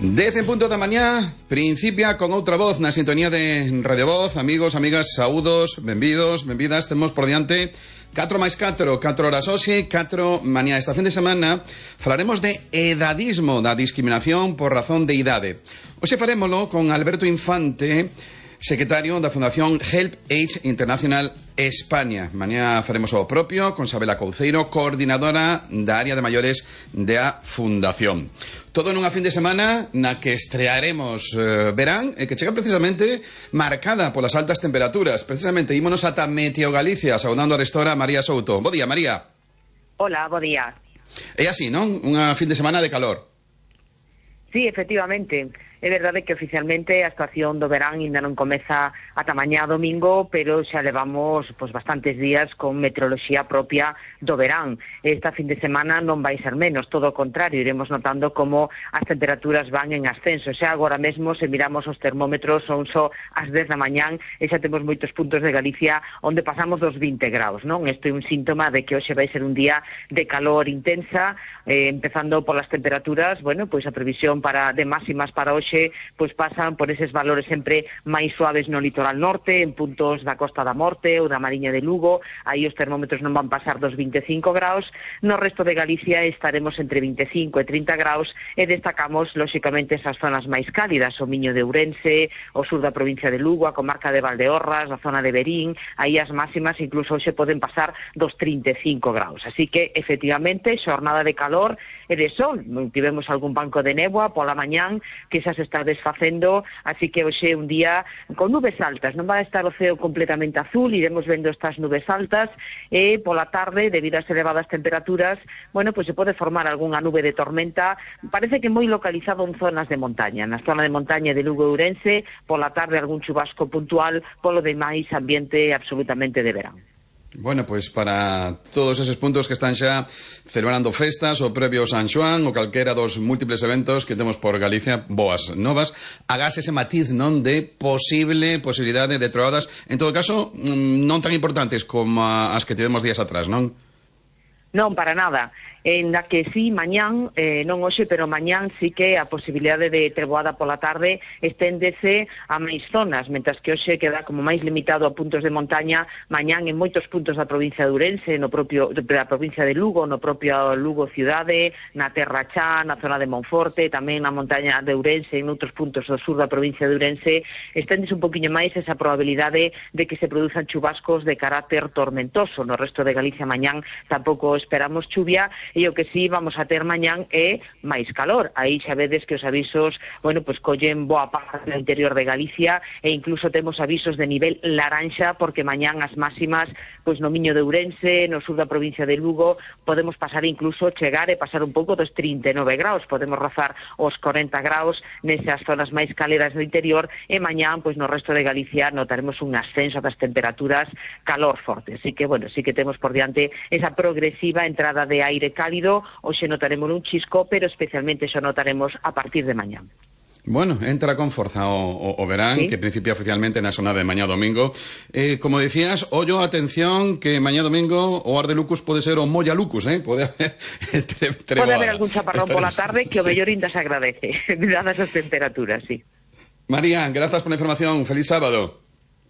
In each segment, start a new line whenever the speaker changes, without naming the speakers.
10 en punto da mañá, principia con outra voz na sintonía de Radio Voz. Amigos, amigas, saúdos, benvidos, benvidas. Temos por diante 4 máis 4 horas hoxe, 4 mañá. Esta fin de semana falaremos de edadismo, da discriminación por razón de idade. Hoxe farémolo con Alberto Infante, secretario da Fundación Help Age International España. Mañá faremos o propio con Sabela Couceiro, coordinadora da área de maiores da Fundación. Todo nunha fin de semana na que estrearemos verán, que chega precisamente marcada polas altas temperaturas. Precisamente, ímonos ata Meteo Galicia, saudando a restora María Souto. Bo día, María.
Hola, bo día.
É así, non? Unha fin de semana de calor.
Sí, efectivamente. É verdade que oficialmente a estación do verán ainda non comeza ata mañá domingo, pero xa levamos bastantes días con meteoroloxía propia do verán. Esta fin de semana non vai ser menos, todo o contrario, iremos notando como as temperaturas van en ascenso. Xa agora mesmo, se miramos os termómetros, son só as 10 da mañán e xa temos moitos puntos de Galicia onde pasamos dos 20 graus, non? Isto é un síntoma de que hoxe vai ser un día de calor intensa, empezando polas temperaturas, a previsión de máximas para hoxe pasan por eses valores sempre máis suaves no litoral norte, en puntos da Costa da Morte ou da Mariña de Lugo. Aí os termómetros non van pasar dos 25 graus. No resto de Galicia estaremos entre 25 e 30 graus e destacamos, lóxicamente, esas zonas máis cálidas, o Miño de Ourense, o sur da provincia de Lugo, a comarca de Valdeorras, a zona de Verín. Aí as máximas incluso hoxe poden pasar dos 35 graus. Así que, efectivamente, xornada de calor e de sol. Tivemos algún banco de néboa pola mañán que xa se está desfacendo, así que hoxe é un día con nubes altas. Non vai estar o ceo completamente azul, iremos vendo estas nubes altas e pola tarde, debido ás elevadas temperaturas, se pode formar algunha nube de tormenta, parece que moi localizado en zonas de montaña. Na zona de montaña de Lugo e Ourense, pola tarde algún chubasco puntual, polo demais ambiente absolutamente de verán.
Bueno, para todos eses puntos que están xa celebrando festas ou previo San Xoán ou calquera dos múltiples eventos que temos por Galicia, boas novas, agás ese matiz non de posibilidade de troadas, en todo caso, non tan importantes como as que tivemos días atrás, non?
Non, para nada. En la que sí, mañán, non hoxe, pero mañán sí que a posibilidade de treboada pola tarde esténdese a máis zonas, mentras que hoxe queda como máis limitado a puntos de montaña. Mañán en moitos puntos da provincia de Ourense, da provincia de Lugo, no propio Lugo cidade, na Terra Chá, na zona de Monforte, tamén na montaña de Ourense, en outros puntos do sur da provincia de Ourense, esténdese un poquinho máis esa probabilidade de que se produzan chubascos de carácter tormentoso. No resto de Galicia mañán tampouco esperamos chuvia, e o que sí vamos a ter mañán é máis calor. Aí xa vedes que os avisos, collen boa parte do interior de Galicia e incluso temos avisos de nivel laranxa porque mañán as máximas no Miño de Ourense, no sur da provincia de Lugo, podemos pasar incluso chegar e pasar un pouco dos 39 graus, podemos rozar os 40 graus nesas zonas máis caleras do interior e mañán, no resto de Galicia notaremos un ascenso das temperaturas, calor forte. Así que, sí que temos por diante esa progresiva entrada de aire cálido. Hoxe notaremos un chisco, pero especialmente xo notaremos a partir de mañá.
Bueno, entra con forza o verán, ¿sí? Que principia oficialmente na zona de mañá domingo. Como decías, ollo, atención, que mañá domingo o Ardelucus pode ser o Molla Lucus, pode haber
pode haber algún chaparrón pola tarde que o mellor inda se agradece, dadas as temperaturas, sí.
María, gracias por la información. Feliz sábado.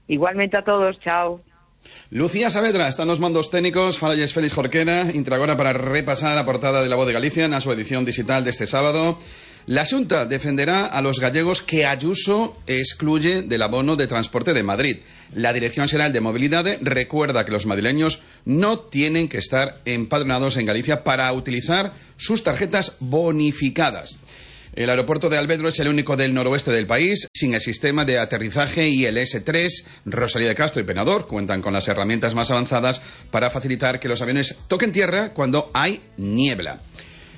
Igualmente a todos, chao.
Lucía Saavedra está nos mandos técnicos, falalles Félix Jorquera, intragora para repasar a portada de La Voz de Galicia na súa edición digital deste sábado. La Xunta defenderá a los gallegos que Ayuso excluye del abono de transporte de Madrid. La Dirección Xeral de Mobilidade recuerda que los madrileños no tienen que estar empadronados en Galicia para utilizar sus tarjetas bonificadas. El aeropuerto de Alvedro es el único del noroeste del país sin el sistema de aterrizaje ILS-3. Rosalía de Castro y Penador cuentan con las herramientas más avanzadas para facilitar que los aviones toquen tierra cuando hay niebla.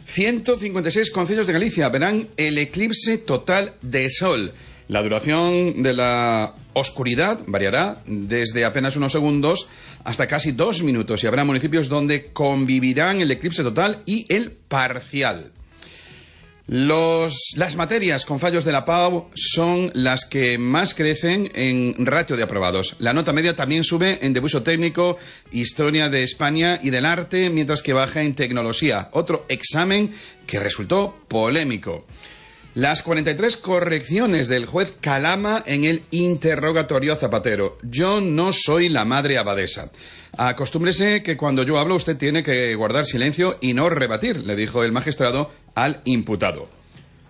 156 concellos de Galicia verán el eclipse total de sol. La duración de la oscuridad variará desde apenas unos segundos hasta casi 2 minutos y habrá municipios donde convivirán el eclipse total y el parcial. Las materias con fallos de la PAU son las que más crecen en ratio de aprobados. La nota media también sube en debuxo técnico, historia de España y del arte, mientras que baja en tecnología. Otro examen que resultó polémico. Las 43 correcciones del juez Calama en el interrogatorio a Zapatero. Yo no soy la madre abadesa. Acostúmbrese que cuando yo hablo usted tiene que guardar silencio y no rebatir, le dijo el magistrado al imputado.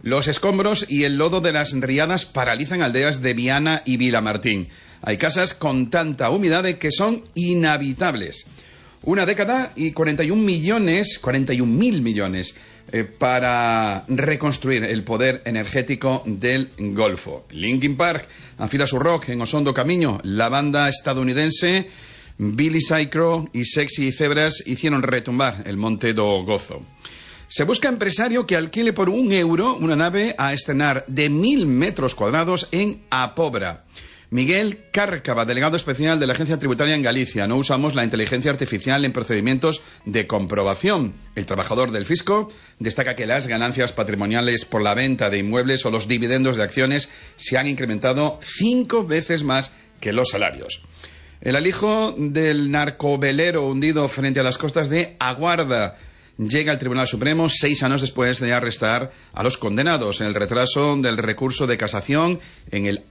Los escombros y el lodo de las riadas paralizan aldeas de Viana y Vilamartín. Hay casas con tanta humedad que son inhabitables. Una década y 41.000 millones para reconstruir el poder energético del Golfo. Linkin Park afila su rock en Osondo Camino. La banda estadounidense Billy Cyrus y Sexy Zebras hicieron retumbar el Monte do Gozo. Se busca empresario que alquile por €1 una nave a estrenar de 1.000 metros cuadrados en A Pobra. Miguel Cárcava, delegado especial de la Agencia Tributaria en Galicia. No usamos la inteligencia artificial en procedimientos de comprobación. El trabajador del fisco destaca que las ganancias patrimoniales por la venta de inmuebles o los dividendos de acciones se han incrementado 5 veces más que los salarios. El alijo del narcovelero hundido frente a las costas de Aguarda llega al Tribunal Supremo 6 años después de arrestar a los condenados. El retraso del recurso de casación en el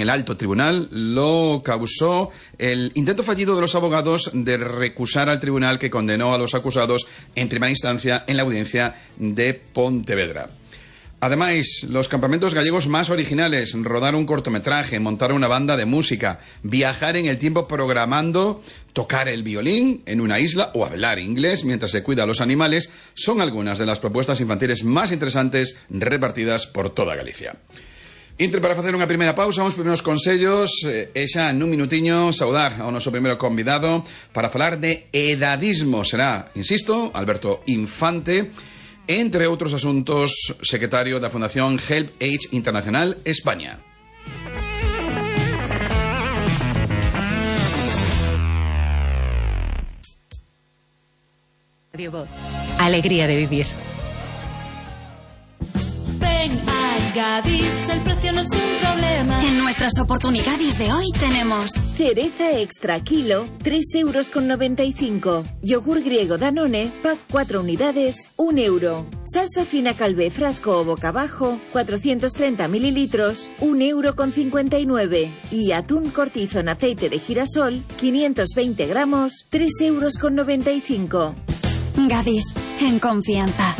alto tribunal lo causó el intento fallido de los abogados de recusar al tribunal que condenó a los acusados en primera instancia en la audiencia de Pontevedra. Además, los campamentos gallegos más originales, rodar un cortometraje, montar una banda de música, viajar en el tiempo programando, tocar el violín en una isla o hablar inglés mientras se cuida a los animales, son algunas de las propuestas infantiles más interesantes repartidas por toda Galicia. Entre para facer unha primeira pausa, uns primeiros consellos e xa nun minutiño saudar ao noso primeiro convidado para falar de edadismo. Será, insisto, Alberto Infante, entre outros asuntos, secretario da Fundación Help Age Internacional España.
Radio Voz. Alegría de vivir.
Ven a Gadis, el precio no es un problema.
En nuestras oportunidades de hoy tenemos
cereza extra kilo, 3,95 €. Yogur griego Danone, pack 4 unidades, €1. Salsa fina Calvé frasco o boca abajo, 430 mililitros, €1,59 €. Y atún cortizo en aceite de girasol, 520 gramos, €3,95 €.
Gadis, en confianza.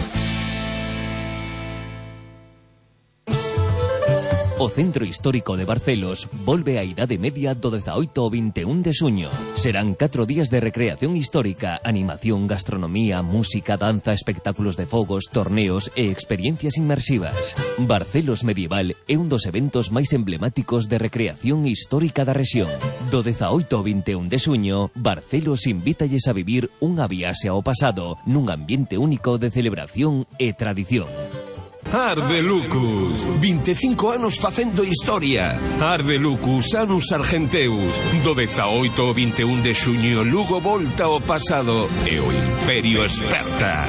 O Centro Histórico de Barcelos volve á Idade Media do 18 ao 21 de xuño. Serán 4 días de recreación histórica, animación, gastronomía, música, danza, espectáculos de fogos, torneos e experiencias inmersivas. Barcelos Medieval é un dos eventos máis emblemáticos de recreación histórica da rexión. Do 18 ao 21 de xuño, Barcelos invítalles a vivir unha viaxe ao pasado nun ambiente único de celebración e tradición.
Ardelucus, 25 anos facendo historia. Ardelucus, Anus Argenteus. Do 18 ao 21 de xuño, Lugo volta ao pasado e o Imperio esperta.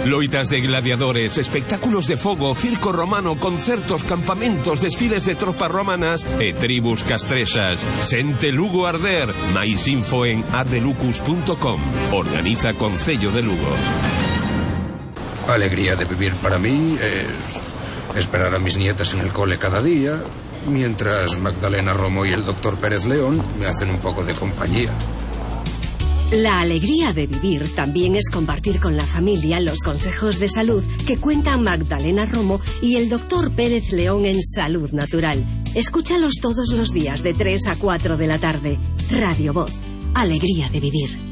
Loitas de gladiadores, espectáculos de fogo, circo romano, concertos, campamentos, desfiles de tropas romanas e tribus castrexas. Sente Lugo arder. Mais info en ardelucus.com. Organiza Concello de Lugo.
Alegría de vivir para mí es esperar a mis nietas en el cole cada día, mientras Magdalena Romo y el doctor Pérez León me hacen un poco de compañía.
La alegría de vivir también es compartir con la familia los consejos de salud que cuentan Magdalena Romo y el doctor Pérez León en Salud Natural. Escúchalos todos los días de 3 a 4 de la tarde. Radio Voz. Alegría de vivir.